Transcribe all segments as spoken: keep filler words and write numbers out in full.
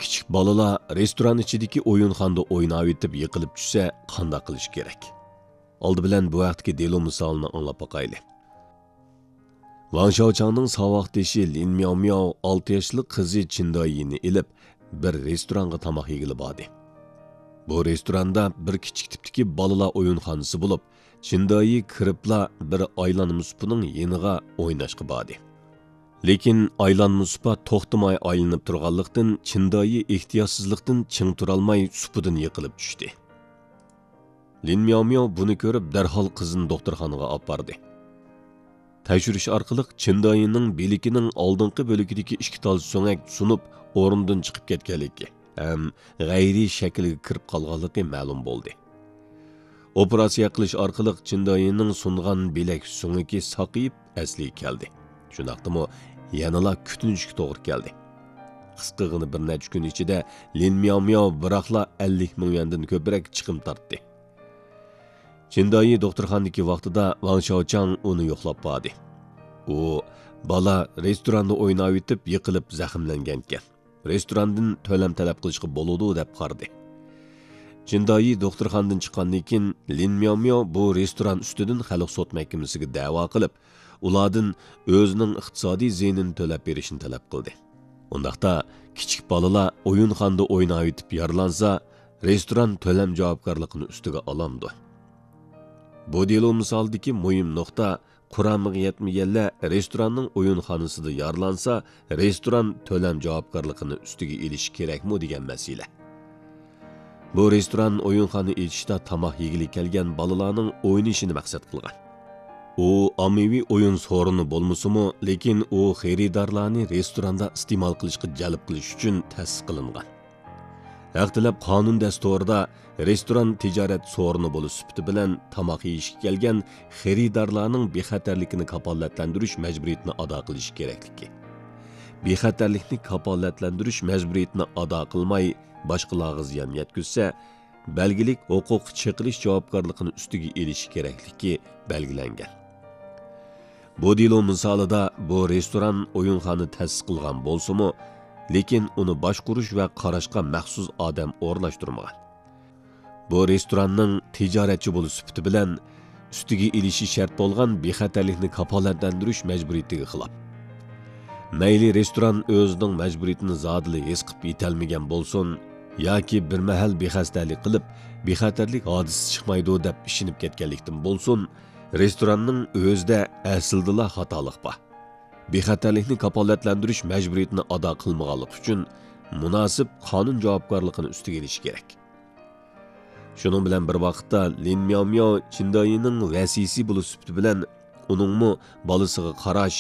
كىچىك بالىلار رېستوران ئىچىدىكى ئويۇنخانىدا ئويناۋېتىپ يىقىلىپ چۈشسە قانداق قىلىش كېرەك؟ ئالدى بىلەن بۇ ھەقتىكى دېلو مىسالىنى ئاڭلاپ باقايلى. ۋاڭ شياۋچاڭنىڭ ساۋاقدىشى لىن مياۋ مياۋ ئالتە ياشلىق قىزى چىن دايىنى ئېلىپ، بىر رېستورانغا تاماق يېگىلى باردى. بۇ رېستوراندا بىر كىچىك تىپتىكى بالىلار ئويۇنخانىسى بولۇپ، چىن دايى كىرىپلا بىر ئايلانما سۇپىنىڭ يېنىغا ئويناشقا باردى. لېكىن ئايلانما سۇپا توختىماي ئايلىنىپ تۇرغانلىقتىن، چىن دايى ئېھتىياتسىزلىقتىن چىڭ تۇرالماي سۇپىدىن يىقىلىپ چۈشتى. لىن مياۋ مياۋ بۇنى كۆرۈپ، دەرھال قىزىنى دوختۇرخانىغا ئاپاردى. تەكشۈرۈش ئارقىلىق چىن دايىنىڭ بىلىكىنىڭ ئالدىنقى بۆلىكىدىكى ئىككى تال سۆڭەك سۇنۇپ، ئورنىدىن چىقىپ كەتكەنلىكى ھەم غەيرىي شەكىلگە كىرىپ قالغانلىقى مەلۇم بولدى. ئوپېراتسىيە قىلىش ئارقىلىق چىن دايىنىڭ سۇنغان بىلەك سۆڭىكى ساقىيىپ، ئەسلىگە كەلدى. شۇنداقتىمۇ يەنىلا كۈتۈنۈشكە توغرا كەلدى. قىسقىغىنە بىر نەچچە كۈن ئىچىدە لىن مياۋ مياۋ بىراقلا ئەللىك مىڭ يۈەندىن كۆپرەك چىقىم تارتتى. چىن دايى دوختۇرخانىدىكى ۋاقتىدا ۋاڭ شياۋچاڭ ئۇنى يوقلاپ باردى. ئۇ، بالا رېستوراندا ئويناۋېتىپ يىقىلىپ زەخىملەنگەنكەن، رېستوراندىن تۆلەم تەلەپ قىلىشقا بولىدۇ، دەپ قارىدى. چىن دايى دوختۇرخانىدىن چىققاندىن كېيىن، لىن مياۋ مياۋ بۇ رېستوران ئۈستىدىن خەلق سوت مەھكىمىسىگە دەۋا قىلىپ، ئۇلاردىن ئۆزىنىڭ ئىقتىسادىي زىيىنىنى تۆلەپ بېرىشنى تەلەپ قىلدى. ئۇنداقتا، كىچىك بالىلار ئويۇنخانىدا ئويناۋېتىپ يارىلانسا، رېستوران تۆلەم جاۋابكارلىقىنى ئۈستىگە ئالامدۇ؟ بۇ دېلو مىسالىدىكى مۇھىم نۇقتا، قۇرامىغا يەتمىگەنلەر رېستوراننىڭ ئويۇنخانىسىدا يارىلانسا، رېستوران تۆلەم جاۋابكارلىقىنى ئۈستىگە ئېلىشى كېرەكمۇ دېگەن مەسىلە. بۇ رېستوران ئويۇنخانا ئېچىشتا تاماق يېگىلى كەلگەن بالىلارنىڭ ئوينىشىنى مەقسەت قىلغان. ئۇ ئاممىۋى ئويۇن سورۇنى بولمىسىمۇ، لېكىن ئۇ خېرىدارلارنى رېستوراندا ئىستېمال قىلىشقا جەلپ قىلىش ئۈچۈن تەسىس قىلىنغان. ھەق تەلەپ قانۇن دەستۇرىدا رېستوران تىجارەت سورۇنى بولۇش سۈپىتى بىلەن تاماق يېيىشكە كەلگەن خېرىدارلارنىڭ بىخەتەرلىكىنى كاپالەتلەندۈرۈش مەجبۇرىيىتىنى ئادا قىلىشى كېرەكلىكى، بىخەتەرلىكنى كاپالەتلەندۈرۈش مەجبۇرىيىتىنى ئادا قىلماي باشقىلارغا زىيان يەتكۈزسە، بەلگىلىك ھوقۇق چېقىلىش جاۋابكارلىقىنى ئۈستىگە ئېلىشى كېرەكلىكى بەلگىلەنگەن. بۇ دېلو مىسالىدا بۇ رېستوران ئويۇنخانا تەسىس قىلغان بولسىمۇ، لېكىن ئۇنى باشقۇرۇش ۋە قاراشقا مەخسۇس ئادەم ئورۇنلاشتۇرمىغان. بۇ رېستوراننىڭ تىجارەتچى بولۇش سۈپىتى بىلەن ئۈستىگە ئېلىشى شەرت بولغان بىخەتەرلىكنى كاپالەتلەندۈرۈش مەجبۇرىيىتىگە خىلاپ. مەيلى رېستوران ئۆزىنىڭ مەجبۇرىيىتىنى زادىلا ھېس قىلىپ يېتەلمىگەن بولسۇن ياكى بىر مەھەل بىخەستەلىك قىلىپ، بىخەتەرلىك ھادىسىسى چىقمايدۇ دەپ ئىشىنىپ كەتكەنلىكتىن بولسۇن، رېستوراننىڭ ئۆزىدە ئەسلىدىلا خاتالىق بار. بىخەتەرلىكنى كاپالەتلەندۈرۈش مەجبۇرىيىتىنى ئادا قىلمىغانلىقى ئۈچۈن مۇناسىپ قانۇن جاۋابكارلىقىنى ئۈستىگە ئېلىشى كېرەك. شۇنىڭ بىلەن بىر ۋاقىتتا، لىن مياۋ مياۋ چىندايىنىڭ ۋەسىيسى بولۇش سۈپىتى بىلەن ئۇنىڭمۇ بالىسىغا قاراش،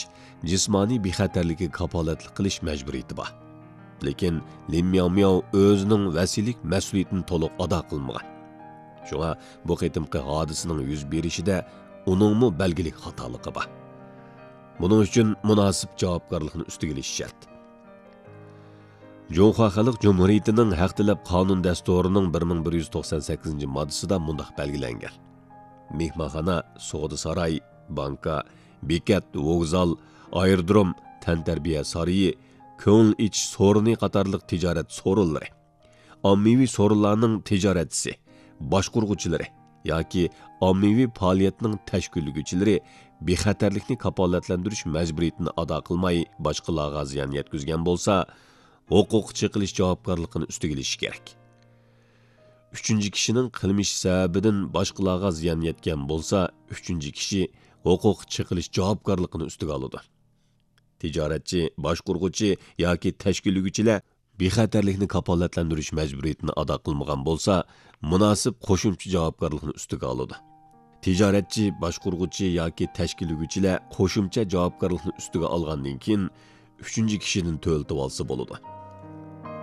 جىسمانىي بىخەتەرلىككە كاپالەتلىك قىلىش مەجبۇرىيىتى بار. لېكىن لىن مياۋ مياۋ ئۆزىنىڭ ۋەسىيلىك مەسئۇلىيىتىنى تولۇق ئادا قىلمىغان. شۇڭا بۇ قېتىمقى ھادىسىنىڭ يۈز بېرىشىدە ئۇنىڭمۇ بەلگىلىك خاتالىقى بار. بۇنىڭ ئۈچۈن مۇناسىپ جاۋابكارلىقنى ئۈستىگە ئېلىش شەرت. جۇڭخۇا خەلق جۇمھۇرىيىتىنىڭ ھەق تەلەپ قانۇن دەستۇرىنىڭ بىر مىڭ بىر يۈز توقسان سەككىزىنچى ماددىسىدا مۇنداق بەلگىلەنگەن: مېھمانخانا، سودا ساراي، بانكا، بېكەت، ۋوگزال، ئايرودروم، تەنتەربىيە سارىيى، كۆڭۈل ئېچىش سورۇنى قاتارلىق تىجارەت سورۇنلىرى، ئاممىۋى سورۇنلارنىڭ تىجارەتچىسى، باشقۇرغۇچىلىرى ياكى ئاممىۋى پائالىيەتنىڭ تەشكىللىگۈچىلىرى بىخەتەرلىكنى كاپالەتلەندۈرۈش مەجبۇرىيىتىنى ئادا قىلماي باشقىلارغا زىيان يەتكۈزگەن بولسا، ھوقۇق چېقىلىش جاۋابكارلىقىنى ئۈستىگە ئېلىشى كېرەك. ئۈچىنچى كىشىنىڭ قىلمىشى سەۋەبىدىن باشقىلارغا زىيان يەتكەن بولسا، ئۈچىنچى كىشى ھوقۇق چېقىلىش جاۋابكارلىقىنى ئۈستىگە ئالىدۇ. تىجارەتچى، باشقۇرغۇچى ياكى تەشكىللىگۈچىلەر بىخەتەرلىكنى كاپالەتلەندۈرۈش مەجبۇرىيىتىنى ئادا قىلمىغان بولسا، مۇناسىپ قوشۇمچە جاۋابكارلىقنى ئۈستىگە ئالىدۇ. تىجارەتچى، باشقۇرغۇچى ياكى تەشكىللىگۈچىلەر قوشۇمچە جاۋابكارلىقنى ئۈستىگە ئالغاندىن كېيىن، ئۈچىنچى كىشىدىن تۆلىتىۋالسا بولىدۇ.